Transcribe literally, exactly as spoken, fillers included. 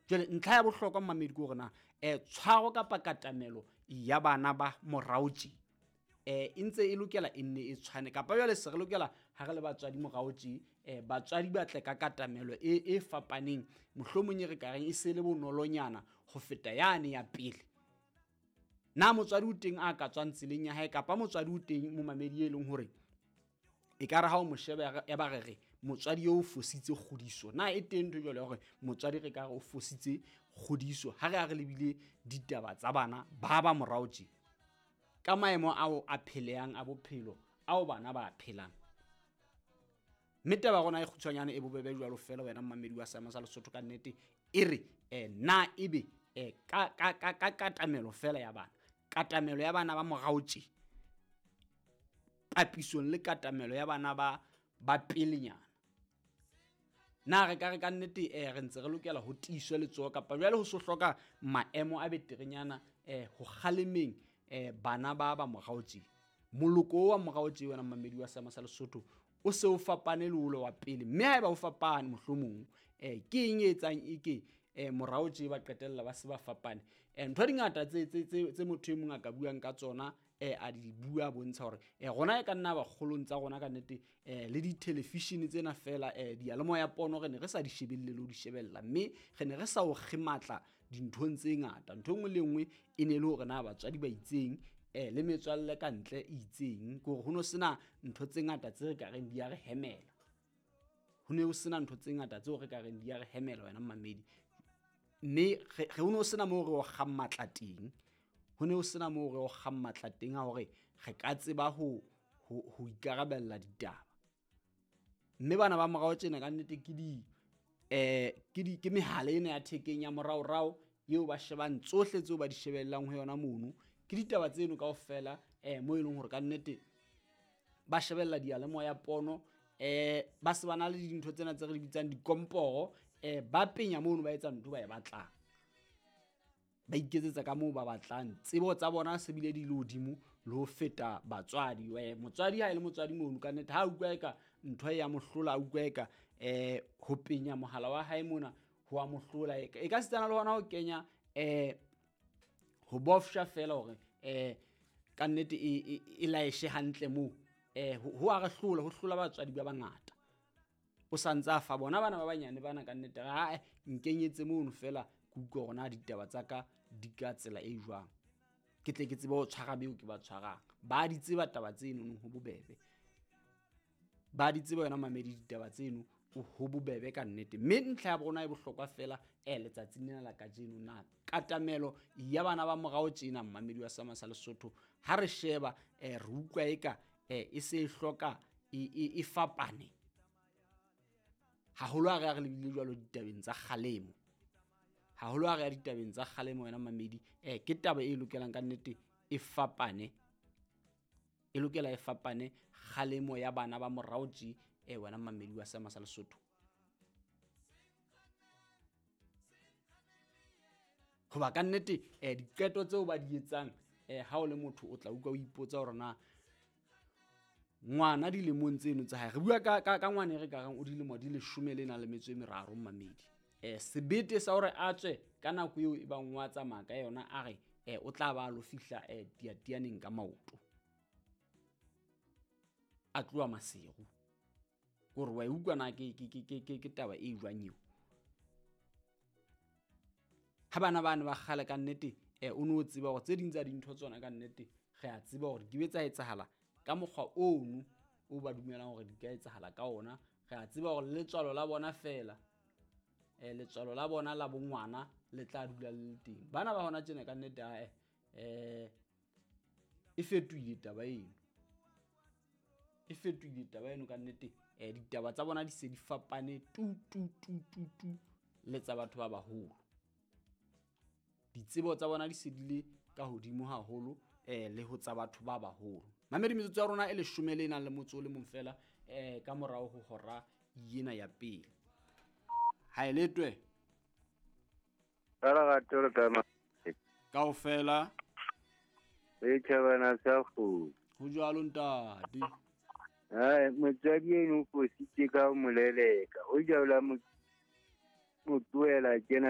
Jwale ntlha ya bohlokwa mmamedi ke hore na eh tshwaro kapa katamelo ya bana ba morao tje eh e ntse e lokela e nne e tshwane kapa jwale se re lokela ha re le batswadi morao tje eh batswadi ba tle ka katamelo e e fapaneng, mohlomong e re ka reng e se le bonolonyana ho feta yane ya pele. Na motswadi o teng a ka tswang tseleng ya hae kapa motswadi o teng momamedi e leng hore e ka re ha o mo sheba ya ba re re motswadi eo o fositse kgodiso? Na e teng ntho e jwalo ya hore motswadi re ka re o fositse kgodiso ha re a re lebile ditaba tsa bana ba ba morao tje ka maemo ao a phelehang a bophelo ao bana ba a phelang? Mme taba ya rona e kgutshwanyane e bobebe jwalo feela wena mmamedi wa Seema sa Lesotho ka nnete e re eh na ebe eh ka ka ka ka katamelo feela ya bana, katamelo ya bana ba morao tje papisong le katamelo ya bana ba ba pelenyana, na re ka re ka nnete eh re ntse re lokela ho tiiswe letsoho kapa jwale ho so hloka maemo a beterenyana eh ho kgalemeng eh bana ba ba morao tje? Moloko wa morao tje wena mmamedi wa Seema sa Lesotho o se o fapane le ole wa pele, mme haeba o fapane mohlomong eh ke eng e etsang e ke eh morao tje ba qetella ba se ba fapane? Eh ntho di ngata tse tse tse tse motho e mong a ka buang ka tsona eh a di bua bontsha hore eh rona e ka nna ba kgolong tsa rona ka nnete eh le di-television tsena feela eh diyalemoya pono re ne re sa di shebelle le ho di shebella, mme re ne re sa o kgematla dinthong tse ngata. Ntho e nngwe le e nngwe e ne le hore na batswadi ba itseng eh le metswalle ka ntle e itseng, ke hore ho no sena ntho tse ngata tse re ka reng di a re hemela. Ho ne ho sena ntho tse ngata tseo re ka reng di a re hemela wena mmamedi, mme re ho no sena moo re o kgang matla teng. Ho ne ho sena moo re o kgang matla teng a hore re ka tseba ho ho ho ikarabella ditaba. Mme bana ba morao tjena ka nnete ke di eh ke di ke mehala ena ya thekeng ya moraorao eo ba shebang tsohle tseo ba di shebellang ho yona mono. Ke ditaba tseno kaofela eh mo e leng hore ka nnete ba shebella diyalemoya pono eh ba se ba na le dintho tsena tse re di bitsang dikomporo eh ba penya mono ba etsa ntho ba e batlang, ba iketsetsa ka moo ba batlang. Tsebo tsa bona se bile di le hodimo le ho feta batswadi. We motswadi ha e le motswadi mono ka nnete ha utlwa eka ntho e ya mohlola, a utlwa eka eh ho penya mohala wa hae mona ho a mohlola, e ka setsana le hona ho kenya eh ho bofsha feela hore eh ka nnete e e laeshe hantle moo eh ho a re hlola, ho hlola batswadi ba bangata. O santse a fa bona bana ba banyane bana ka nnete ha nkenyetse mono feela ke utlwe hore na ditaba tsa ka di ka tsela e jwang, ke tle ke tsebe ho tshwara beo ke ba tshwarang. Ba di tseba taba tseno ho bobebe, ba di tseba yona mamedi ditaba tseno ho bobebe ka nnete. Mme ntlha ya rona e bohlokwa feela eh letsatsing lena la kajeno, na katamelo ya bana ba morao tjena mmamedi wa Seema sa Lesotho ha re sheba eh re utlwa eka eh e se e hloka e e fapane haholo ha re a re lebile jwalo ditabeng tsa kgalemo, haholo ha re ya ditabeng tsa kgalemo wena mamedi eh ke taba e lokelang ka nnete e fapane, e lokela e fapane kgalemo ya bana ba morao tje eh wena mamedi wa Seema sa Lesotho. Hoba ka nnete eh diqeto tseo ba di etsang eh ha o le motho o tla utlwa o ipotsa hore na ngwana dilemong tseno tsa hae, re bua ka ka ngwana e re ka reng o dilemo di leshome le nang le metso e meraro mmamedi eh sebete sa hore a tswe ka nako eo e bang wa tsamaya ka yona a re eh o tla ba lo fihla eh tiatianeng ka maoto a tloha Maseru, hore wa utlwa na ke ke ke ke ke taba e jwang eo? Ha bana bana ba kgale ka nnete eh o no tseba hore tse ding tsa dintho tsona ka nnete re a tseba hore di be tsa etsahala ka mokgwa ono o ba dumelang hore di ka etsahala ka ona. Re a tseba hore letswalo la bona feela eh letswalo la bona la bongwana le tla dula le le teng. Bana ba hona tjena ka nnete ae eh e fetohile taba eno, e fetohile taba eno ka nnete. Eh ditaba tsa bona di se di fapane tu tu tu tu tu le tsa batho ba baholo. Ditsebo tsa bona di se di le ka hodimo haholo eh le ho tsa batho ba baholo. Mamedi metsotso ya rona e leshome le nang le motso o le mong feela eh ka morao ho hora yena ya pele. Ha e letwe kaofela e tjhabana sa kgomo. Ho jwalo ntate. Hai, motswadi eno o fositse ka ho mo leleka. O jwala mo tlohela kena